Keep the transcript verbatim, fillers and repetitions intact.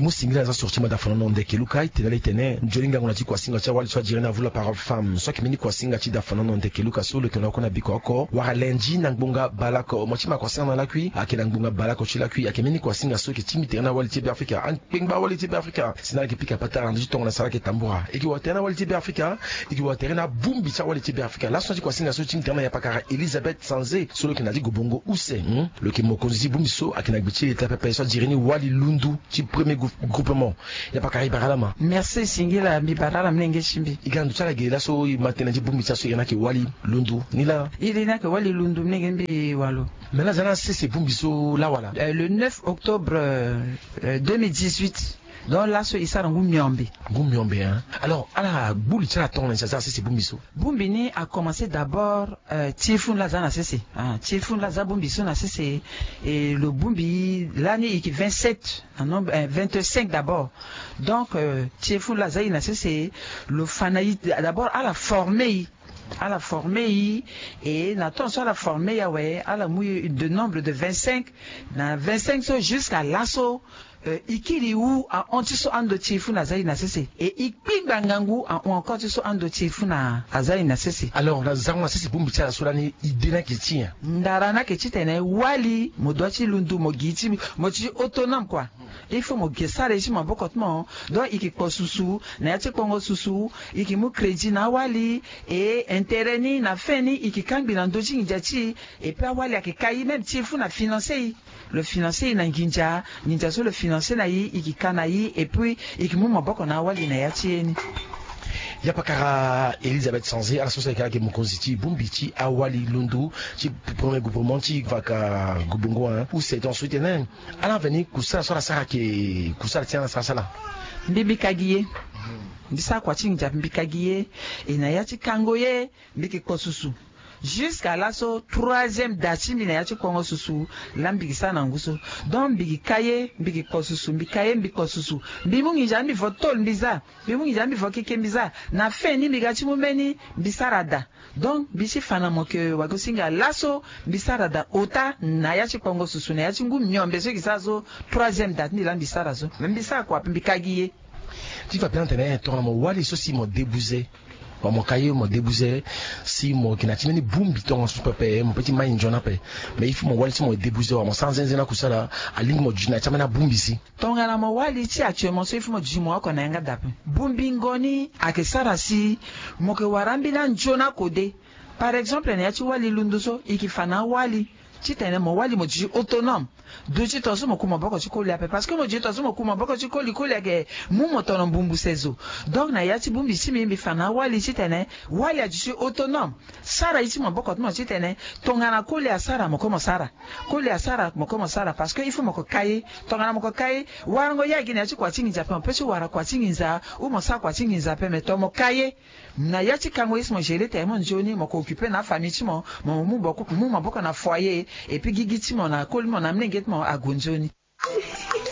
Mu singila na za sorti ma dafanono ndeke luka itene ala itene nzoni ngangu na ti kuasinga ti awali so ajere ni avu la parole femme so ayeke mbeni kuasinga ti dafanono ndeke luka so lo yeke na oko na biko oko wala lendi na ngbonga balako mo ti ma kuasinga na lakui ayeke na ngbonga balako ti lakui ayeke mbeni kuasinga so ayeke ti mbi tere na awali ti be afrika. Kpengba awali ti be afrika si na ala yeke pika patara na ndö ti tongana sara ayeke tambura e yeke wara tere na awali ti be afrika. E yeke wara tere na abongbi ti awali ti be afrika laso na ti kuasinga so ti mbi tere na yapakara elizabeth sanze so lo yeke na ti gobongo use. Lo yeke mokonzi ti bongbi so ayeke na gbe ti leta pepe so ajere ni wali lundu ti premier groupement. Yapakara e bara ala ma. Merci singila mbi bara ala molenge ti mbi. E ga na ndo ti ala ge laso e ma tënë ti bongbi ti aso e iri ni ayeke wali lundu ni laa. Iri ni ayeke wali lundu molenge ti mbi walo. Mais la aza na sese bongbi so laa wala? Le neuf octobre deux mille dix-huit. Donc laso e sara ngu miombe. Ngu miombe hein. Alors ala gbu li ti ala tonga na nyen si aza na sese bongbi so? Bongbi ni a commencer d'abord ti e funu laa aza na sese. Ti e funu laa aza bongbi so na sese. E lo bongbi lani e yeke vingt-sept na nombre vingt-cinq d'abord. Donc ti e funu laa aza e na sese. Lo fa na e d'abord ala former e. Ala former e. E na temps so ala former e awe ala mu e de nombre de vingt-cinq. Na vingt-cinq so jusqu'à laso. E kiri e hu ahon ti so ando ti e fu na aza e na sese e e kpingba ngangu ahon encore ti so ando ti e fu na aza e na sese. Alors na zango na sese bongbi ti ala so lani idée ni ayeke ti nyen? Ndara ni ayeke titene wali mo dua ti lundu mo gi ti mo ti autonome kua. Il faut mo ge sara e ti maboko ti mo. Donc e yeke kpo susu na ya ti kpongo susu. E yeke mu crédit na awali. E intérêt ni na fin ni e yeke kangbi na ndö ti nginza ti e. Et puis awali ayeke ka e même ti e fu na financer e. Lo financer e na nginza nginza so lo financer na e e ke ka na e et puis e ke mu maboko na awali na ya ti e ni. Yapakara elizabeth sanze ala so so ayeke ayeke mokonzi ti bongbi ti awali londo ti premier groupement ti vaka gobongo hein ou seton so ti tene ala veni kusala so ala sara ayeke kusala ti ala sara sala. Mbi mbi ka gi ye. Mbi sara kua ti nginza mbi ka gi ye. E na ya ti kango ye mbi ke kpo susu. Jusqu'à laso troisième date ti mbi na ya ti kpongo susu. Laa mbi gi sara na ngu so. Donc mbi gi ka ye mbi gi kpo susu mbi ka ye mbi kpo susu. Mbi mu nginza mbi vo tôle mbi za. Mbi mu nginza mbi vo keke mbi za. Na fin ni mbi ga ti mu mbeni mbi sara daa. Donc mbi ti fa na mo ke wagosinga laso mbi sara daa ota na ya ti kpongo susu na ya ti ngu miombe so gi sara so. Troisième date ni laa mbi sara so mbi sara kua ape mbi ka gi ye. Ti fa pena tene tongana mo wali so si mo debuze. Wa mo ka ye mo debuze si mo yeke na ti mbeni bongbi tongaso pepe mo pe ti mai nzoni ape. Mais il faut mo wali so mo debuze wa mo sara nzenze na kusala. Alingbi mo duti na ya ti ambeni abongbi si. Tongana mo wali ti actuellement so il faut mo duti mo oko na yanga daa ape. Bongbingo ni ayeke sara si mo yeke wara ambeni anzoni akode. Par exemple na ya ti wali lundu so e yeke fa na awali titene mo wali mo duti autonome. Duti tongaso mo ku maboko ti koli ape parce que mo duti tongaso mo ku maboko ti koli koli ayeke mu mo tono mbumbu sezo. Donc na ya ti bongbi ti mbi mbi fa na awali titene wali aduti autonome. Sara ye ti maboko ti mo titene tongana koli asara mo ko mo sara. Koli asara mo ko mo sara parce que il faut mo ko ka ye. Tongana mo ko ka ye warango ye agi na ya ti kua ti nginza ape mo pe ti wara kua ti nginza ou mo sara kua ti nginza ape mais to mo ka ye. Na ya ti kango ye si mo gérer tene mo nzoni mo ko occuper na afamille ti mo. Mo mu maboko na foyer. Et puis gigi ti mo na koli mo na amlenge ti mo ague nzoni.